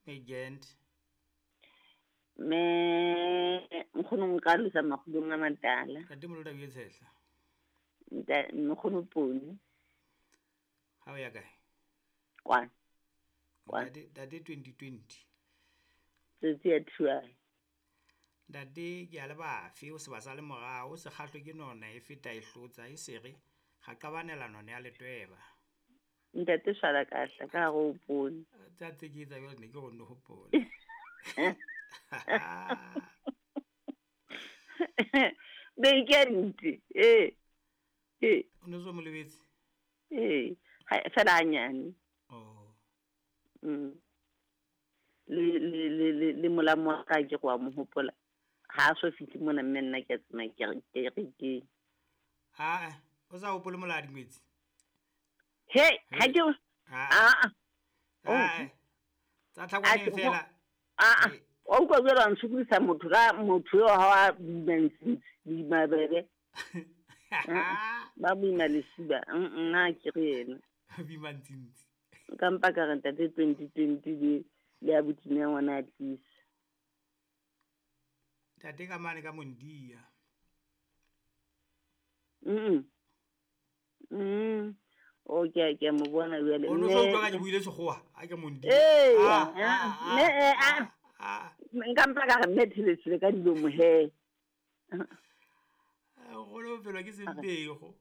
Megent. Mme nkgono nka losa makgulong a matala. Ntate Moloda o tshehla. Nta nkgono Poni. Ha o ya kae? Kwana. Kwana. Ntate ntate 2020. Tsotsi ya thuae. Ntate ke a le bafe o se ba sa le morao o se kgahlwe ke nona e feta e hlotsa e sere ga qabanela nona ya letweba. Ntate swala kahla ka hare ho poone. Tsa tse ke etsa jwale ne ke go nne hopole. Be ke ntse. Eh. Eh. O ne so mo lebetse? Eh. Ha fela hanyane. Oh. Le le le le le molamo wa ka ke go a mo hopola. Ha a so fihle mona mme nna ke a tsamaya ke re ke re ke. Ha o sa hopole moladi ngwetsi? He, ha ke Ah. a a. Ah. Tsa tlhakwaneng fela. A a. Wa utlwa jwale wa ntshokodisa motho ka motho eo ha wa boima ntsintsi, boima bebe. Ba boima lesiba. Nna ke re yena. Boima ntsintsi. Nka mpa ka re ntate 2020 le le abuti ya ngwana a tlisa. Ntate ka mane ka Mondia. O ke ke mo bona jwale. O no so utlwa ka ke buile sekgowa, a ke Mondia. Eh, Ah, ah, mme eh, ah. ah. Nka mpa ka re mme thelesile ka dilomo he. Go lo felwa ke sempego.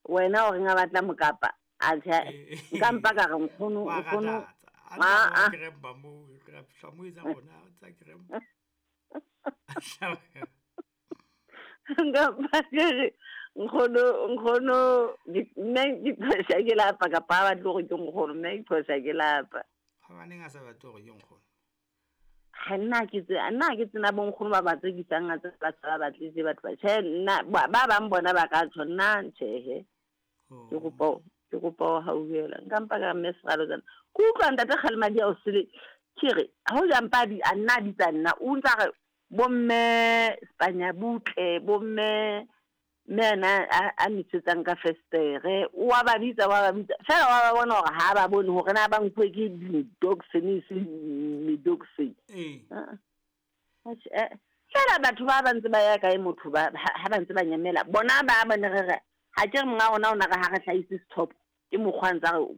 Wena o reng a batla mokapa? A tjhe, Eh. nka mpa ka re nkgono, Wa nkgono. ratatsa. A Ah, tla ah. krempa mo, ra fihla mo etsa rona tsa krempa. Nka mpa ke re nkgono, nkgono, mme ke phosa ke lapa kapa ha batle hore ke nkgono, mme ke phosa ke lapa. Ha baneng a sa batle hore ke nkgono. Ha nna ke tse, nna ke tsena bo nkgono ba ba tsekisang a tse ba sa ba batlise batho ba. Tjhe, nna ba bang bona ba ka tjho, nna tjhehe. Oh. Ke kopa, ke kopa ho hauhela. Nka mpa ka mme Seralo tsena. Ke utlwa ntate Kgalemadi a o sele. Ke re, ha o ja mpa di, a nna a bitsa nna, o ntsa re bomme Spanya butle, bomme mme ena a mitsetsang ka festere, o wa ba bitsa, wa ba bitsa. Fela wa ba bona hore ha ba bone hore na ba nkuwe ke di-dogs, se me-dogs. Eh. Ah. Atjhe, eh. Fela batho ba ba ntse ba ya kae motho ba ha ba ntse ba nyamela. Bona ba ba ne re re, ha ke re monga rona o na re ha re hlahise sethopo, ke mokgwa ntsa re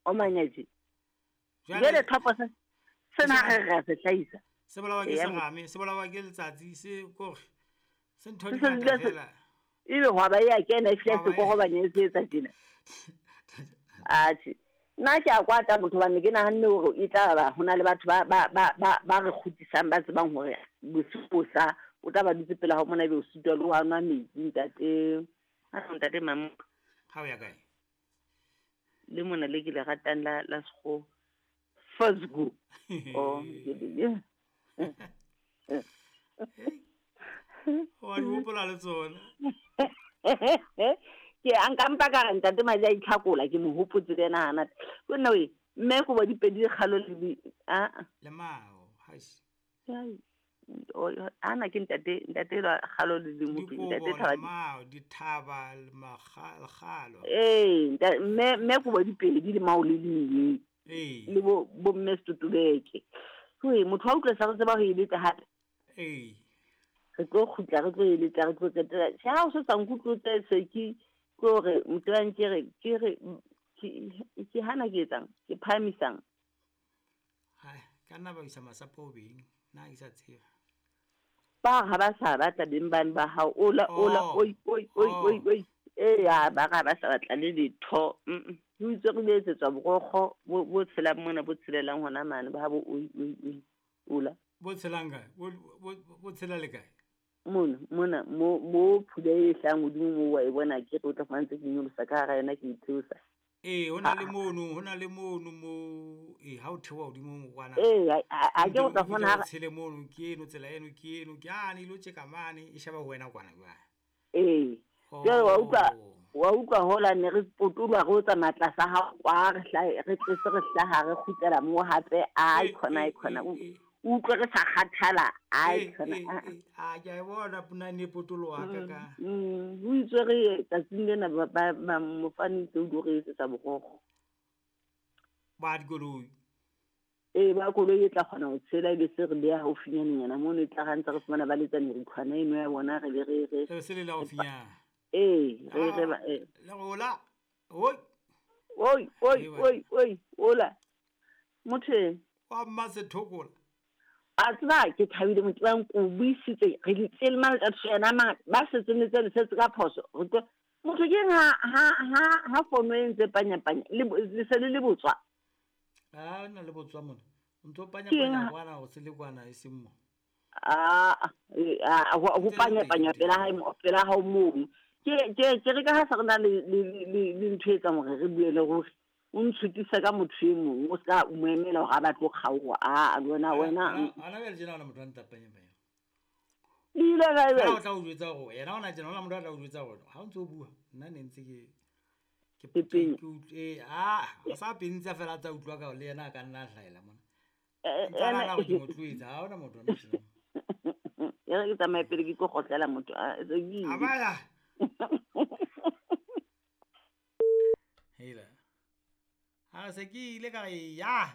o manya tje. Jwale thopo se sena re re se hlahisa. Se bolawa ke Eya, serame, se bolawa ke letsatsi, se kore se ntho Se di se ngata dula se- fela. Ebe hwa ba ya kena e fihla Hwa ba se korobanya e se etsa tjena. Atjhe. Nna ke a kwata motho hobane ke nahanne hore e tla ba ho na le batho ba ba ba ba ba re kgutlisang ba tsebang hore bosiu bo sa o tla ba dutse pela hao mona ebe o sitwa le ho nwa metsi ntate. Ha ntate Mamoka. Ha o ya kae? Le mona le ke le ratang la la sekgowa. First go. Oh, ke le. Wa di hopola le tsona. Ke a nka mpa ka re ntate Madi a itlhakola ke mo hopotse le yena hana. Ko nna we, mme ko bo dipedi kgalo le di a a. Le mao, haish. Ai. O ana ke ntate, ntate la kgalo le le motho, Dikobo, ntate le Thaba. mao, dithaba, le lekgalo. Eh, mme mme ko bo dipedi le mao le le. Eh. Le bo bo mme Setotobeke. Hoi, motho wa utlwa sa re tseba ho e letsa hape. Eh. Re tlo kgutla, re tlo e letsa, re tlo qetela. Tjhe, ha o se sa nkutlwe se ke ke hore motho wa ke re ke re ke hana ke etsang, ke phahamisang. Hai, ka nna ba isa masapo beng, nna ke sa tseba. Ba ha ba sa batla beng bane ba hao, ola, ola, Oh. oi, oi, oi, Oh. oi, oi. Eh, ya, ba ra ba sa batla le letho. Ho itse re le etsetswa borokgo bo bo tshelang mona, bo tshelelang hona mane, ba ha bo oi, oi, oi, ola. Bo tshelang kae? Bo, bo, bo tshela le kae? Mona, mona, mo, mo phula e hlahang hodimo moo wa e bona ke re o tla fumana ntse ke nyolosa ka hara yona ke itheosa. Eh, ho na le mono, ho na le mono mo, eh, ha o theoha hodimo mo kwana. Eh, ha ke o tla O fumana fihle o hara tshele mono, ke eno tsela eno, ke eno, ke ane ilo tjeka mane, e sheba ho wena kwana jwale. Eh. Jwale wa utlwa, Oh. wa utlwa hola ne re potoloha re o tsamaya tlasa ha kwa, re hlahe, re tlese re hlaha, re kgutlela moo hape, ai Eh, khona, ai eh, khona. eh, eh. O utlwe re sa kgathala, ai Eh, khona, eh, a. eh, a ke a e bona ponane e potoloha ka ka. Ho itswe re tsatsing lena ba, ba, ba mofani ntse o di re etsetsa borokgo. Ba dikoloi. Ee, ba koloi e tla kgona ho tshela, ebe se re beha haufinyanenyana mono, e tla ra ntse re fumana ba letsa merikhwana eno ya bona, re be re re E se le la haufinyana. Ee, re re ba ee. Le hola. Oi. Oi, oi, oi, oi, hola. Motho e. Wa mma sethokola. A tseba ke thabile motho ba nko buisitse re di tsele mane tsa yena ma ba setseng le tsene setse ka phoso. Re tlo motho ke ha ha ha ha fono e ntse panya panya le le se le le botswa. A na le botswa mona. O ntso panya panya kwana o se le kwana e seng mo. A ho panya panya pela hae pela hao mono. Ke ke ke re ka ha sa re na le le le ntho e etsang hore re bue le ruri. O ntshutisa ka motho e mong, o ska mo emela hore a batle ho kgaoha. A wena wena. Ana bjale tjena ona motho a ntsa panya panya. Le ile kae bjale? O tla o jwetsa hore yena ona tjena ona motho a tla o jwetsa hore ha o ntse o bua nna ne ntse ke ke ke a sa pentsa fela tsa utlwa ka le yena a ka nna a hlahela mona. Ntsa nahana hore ke mo tloetsa, ha hona motho ona tjena. E re ke tsamaye pele ke tlo kgotlela motho a se ke ile. Amaya. Hela. Ha se ke ile ka re ya.